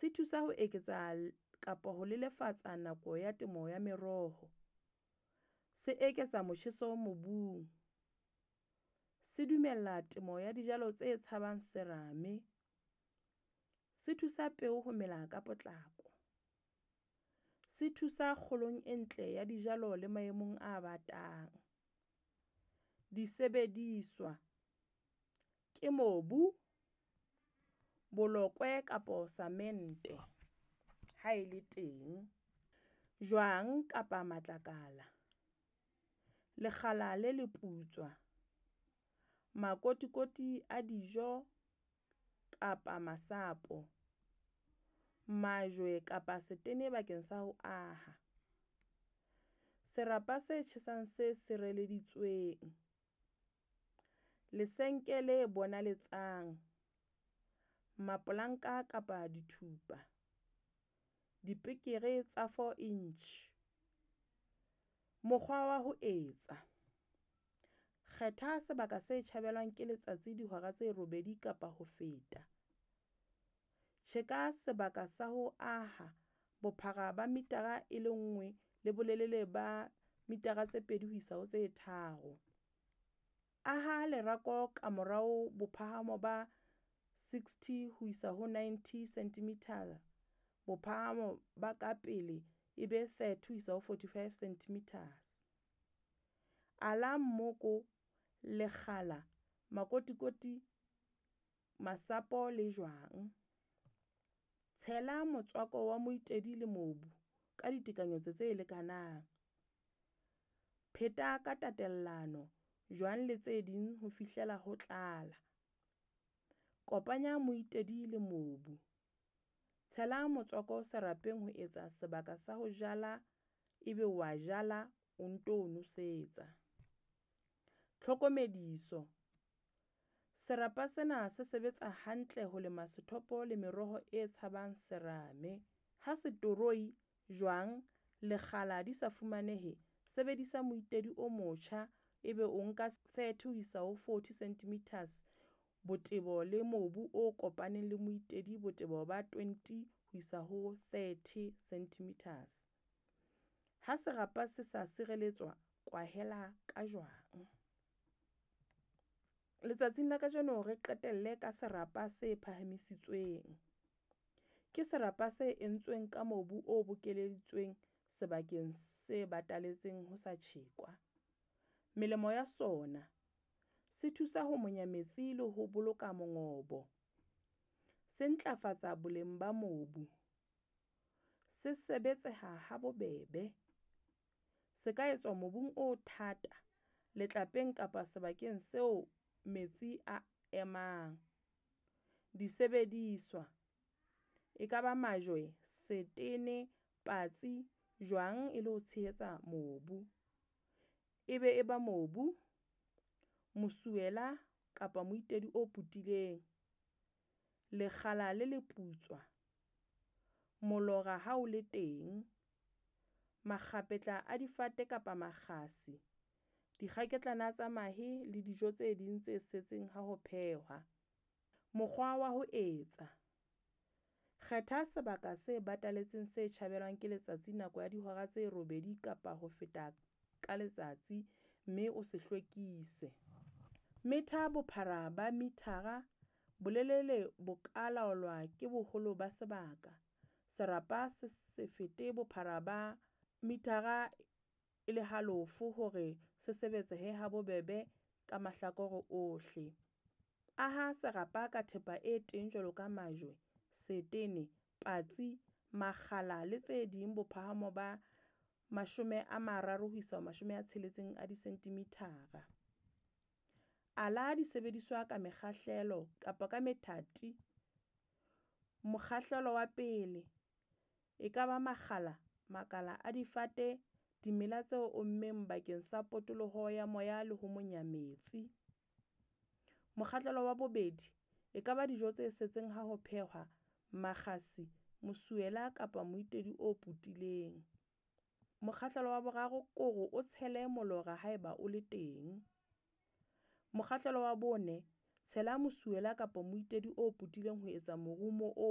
Se thusa ho eketsa kapa ho lelefatsa nako ya temo ya meroho. Se eketsa motjheso mobung. Se dumella temo ya dijalo tse tshabang serame. Se thusa peo ho mela ka potlako. Se thusa kgolong e ntle ya dijalo le maemong a batang. Disebediswa ke mobu, bolokwe kapa samente ha e le teng, jwang kapa matlakala, lekgala le leputswa, makotikoti a dijo kapa masapo, majwe kapa setene bakeng sa ho aha. Serapa se tjhesang se sireleditsweng, lesenke le bonaletsang, mapolanka kapa dithupa, dipekere tsa four inch. Mokgwa wa ho etsa, kgetha sebaka se tjhabelwang ke letsatsi dihora tse robedi kapa ho feta. Tjheka sebaka sa ho aha bophara ba metara e le nngwe le bolelele ba mitara tse pedi ho isa ho tse tharo. Aha lerako ka morao bophahamo ba 60 ho isa ho 90 centimeter. Bophahamo ba ka pele e be 30 ho isa ho 45 centimeters. Ala mmoko, lekgala, makotikoti, masapo le jwang. Tshela motswako wa moitedi le mobu ka ditekanyetso tse lekanang. Pheta ka tatelano jwang le tse ding ho fihlela ho tlala. Kopanya moitedi le mobu. Tshela motswako serapeng ho etsa sebaka sa ho jala ebe wa jala o nto nosetsa. Tlhokomediso, serapa sena se sebetsa hantle ho lema sethopo le meroho e tshabang serame. Ha setoroi, jwang, lekgala di sa fumanehe, sebedisa moitedi o motjha ebe o nka 30 ho isa ho 40 cm botebo le mobu o kopaneng le moitedi botebo ba 20 ho isa ho 30 cm. Ha serapa se sa sireletswa, kwahela ka jwang. Letsatsing la kajeno re qetelle ka serapa se phahamisitsweng. Ke serapa se entsweng ka mobu o bokeleditsweng sebakeng se bataletseng ho sa tjhekwa. Melemo ya sona, se thusa ho monya metsi le ho boloka mongobo. Se ntlafatsa boleng ba mobu. Se sebetseha ha bobebe. Se ka etswa mobung o thata, letlapeng kapa sebakeng seo metsi a emang. Disebediswa, e kaba majwe, setene, patsi, jwang e le ho tshehetsa mobu. E be e ba mobu, mosuwela kapa moitedi o putileng, lekgala le leputswa, molora ha o le teng, makgapetla a difate kapa makgasi, dikgaketlana tsa mahe le dijo tse ding tse setseng ha ho phehwa. Mokgwa wa ho etsa, kgetha sebaka se bataletseng se tjhabelwang ke letsatsi nako ya dihora tse robedi kapa ho feta ka letsatsi, mme o se hlwekise. Metha bophara ba mithara, bolelele bo ka laolwa ke boholo ba sebaka. Serapa se se fete bophara ba mithara e le halofo hore se sebetsehe ha bobebe ka mahlakore ohle. Aha serapa ka thepa e teng jwalo ka majwe, setene, patsi, makgala le tse ding bophahamo ba 30 ho isa 60 a disenthimithara. Ala disebediswa ka mekgahlelo kapa ka methati. Mokgahlelo wa pele, e ka ba makgala, makala a difate, dimela tse ommeng bakeng sa potoloho ya moya le ho monya metsi. Mokgahlelo wa bobedi, e ka ba dijo tse setseng ha ho phehwa, makgasi, mosuwela kapa moitedi o putileng. Mokgahlelo wa boraro kore o tshele molora haeba o le teng. Mokgahlelo wa bone, tshela mosuwela kapa moitedi o putileng ho etsa morumo o